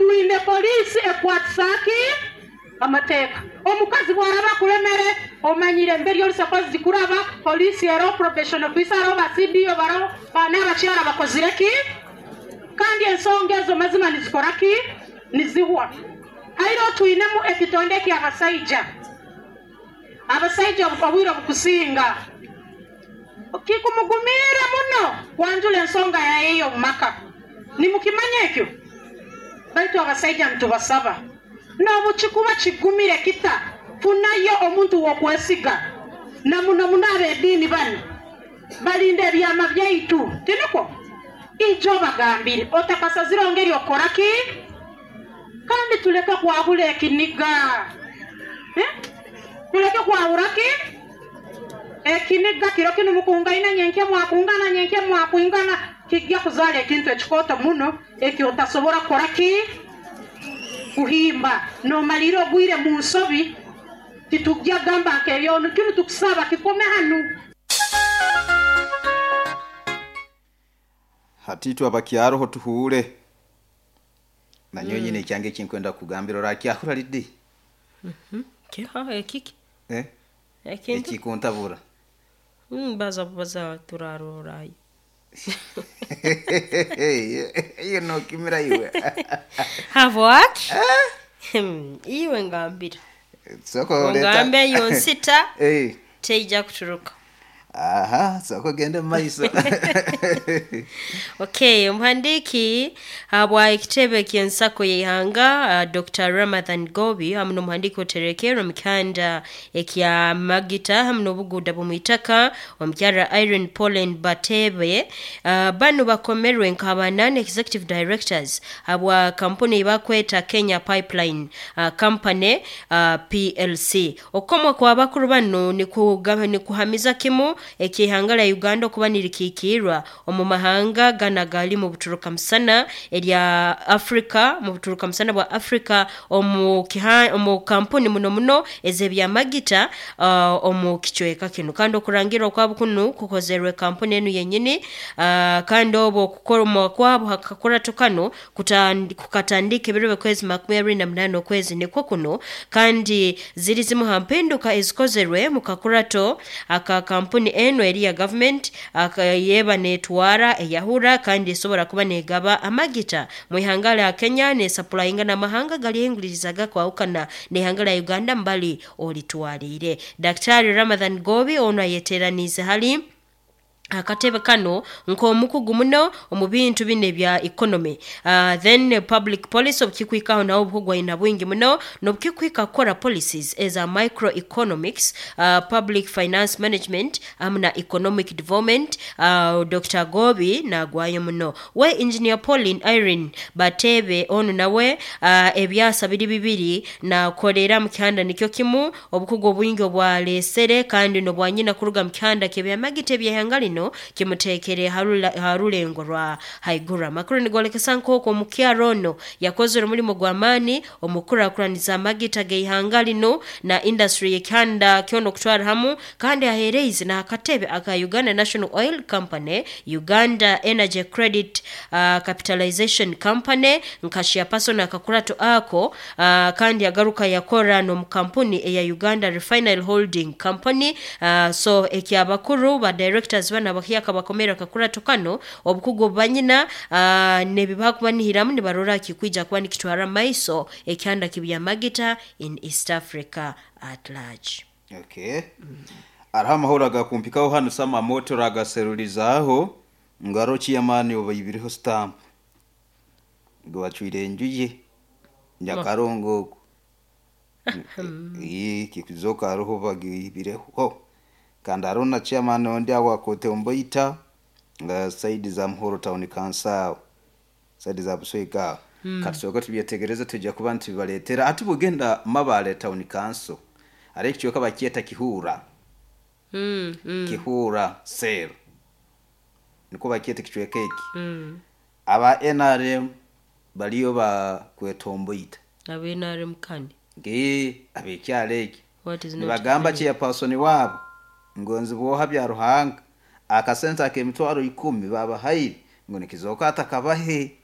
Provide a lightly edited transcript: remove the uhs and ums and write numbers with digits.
Twine poliisi ekwatisa ki? Amateeka. Omukazi bw'araba akuremere, omanyire mberi ori supposed kuraba, poliisi eroho, probation officer aroho, ba CDO baroho, ba n'abakyara bakozire ki? Kandi ensonga ezo mazima nizikora ki? Nizihwa. Haireho twinemu ekitonde eky'abasaija. Abasaija obwire obukusinga kikumugumiire muno kwanjura ensonga yaye ey'omu maka. Nimukimanya ekyo? Baitu abasaija nitubasaba, n'obukikuba kigumire kita, funayo omuntu w'okwesiga, na muno muno ab'ediini banu balinda ebyama byaitu, tinukwo? Ija obagambire otakasazireho ngeri okukora ki? Kandi tuleke kwahura ekiniga. Tuleke kwahura ki? Ekiniga. Kiro kinu mukungaine, nyenkya mwakungana, nyenkya mwakwingana, kigya kuzaara ekintu ekikooto muno eki otasobora kukora ki? Kuhimba. Noomaliira ogwire mu nsobi, titugya kugamba nk'eyo. Kinu tukusaba kikome hanu. Hati itwe abakyaroho tuhuure. Nanyowe nyine ekyange eki nkwenda kukugambira orakyahura Lydie? Kiha ekiki? Eh? Ekintu? Ekikuntabura. Baza bubaza turarora. Iwe nokimira iwe. Habwaki? Iwe ngambira. Sooka oleeta. Ongambe eyo nsita Eh. teija kuturuka. Aha, sooka ogende mu maiso. Okay, omuhandiiki habwa ekitebe ky'ensako y'eihanga Dr. Ramathan Gobi hamu n'omuhandiiki oterekerwe omu kihanda ekya Magita hamu n'obuguuda bw'omwitaka omukyara Irene Pauline Batebe banu bakomerwe nk'aba non-executive directors habwa kampuni ei bakweta Kenya Pipeline Company PLC. Okukomwa kw'abakuru banu nikuhamiza kimu eky'eihanga lya Uganda okuba nirikiikiirwa omu mahanga ganu agali mu buturuka musana erya Africa mu buturuka musana bwa Africa omu kiha omu kampuni muno muno ez'ebyamagita omu kicweka kinu. Kandi okurangirra kwabo kunu kukozerwe kampuni enu yenyini kandi obu okukomwa kwabo ha kakurato kanu kukatandika ebiro by'okwezi 28 okwezi nikwo kunu kandi ziri zimu ha mpinduka ezikozerwe mu kakurato aka kampuni enu eri ya gavumenti yeba netwara eyahura kandi esobora kuba negaba amagita mu ihanga lya Kenya nesapurayinga n'amahanga galyehinguliriza agakwahukana n'ihanga lya Uganda mbali olitwaliire. Daktari Ramathan Gobi onu ayeteraniize hali akatebe kanu nk'omukugu muno omu bintu binu ebya economy then public policy obukikwikaho nawe obukugu aina bwingi muno n'obukikwika kukora policies eza microeconomics, public finance management hamu na economic development. Dokita Gobi nagwayo muno. We Engineer Pauline Irene Bateebe onu nawe ebyasa biri bibiri nakolera mu kihanda nikyo kimu obukugu obwingi obwalesere kandi n'obwanyina kuruga mu kihanda ky'ebyamagita eby'ihanga lino kimuteekere ha rulengo rwa haiguru. Amakuru nigolekesa nk'oku omukyara ono yakozere omulimo gw'amaani omu kukurakuraniza amagita g'eihanga lino na industry y'ekihanda kyona okutwara hamu kandi aheereize n'akatebe aka Uganda National Oil Company, Uganda Energy Credit Capitalization Company nka chairperson akakurato ako kandi yagaruka yakora n'omu kampuni eya Uganda Refinery Holding Company. So eky'abakuru ba directors banu abahyaka bakomere akakurato kanu obukugu obu banyina n'ebi bakubanihiramu nibarora kikwija kuba nikitwara mu maiso ekihanda ky'ebyamagita in East Africa at large. Okay. Hariho amahoro agakumpikaho hanu Sam Amooti oragaserurizaaho ngu hariho chairman obaibireho stamp ngu bacwire enju ye Nyakarongo okwo. Ii kikuzooka hariho bagiibireho. Kandi hariho na chairman ondi aho Kotemboita side za Muhoro town council aho. Side za Buswega aho. Katusooke tubyetegereze twija kuba nitubibareetera. Hati bwogenda Mabale town council hariho ekicweka bakyeta Kihuura. Kihuura cell nikwo bakyeta ekicweka eki. Aba nrm bariyo bakwetomboita. Aba nrm kani? Ee, ab'ekyaro eki. What is not Nibagamba clear? chairperson waabo ngu nzibwoha Byaruhanga akasente ak'emitwaro ikumi baabahaire ngu nikizooka atakabahe.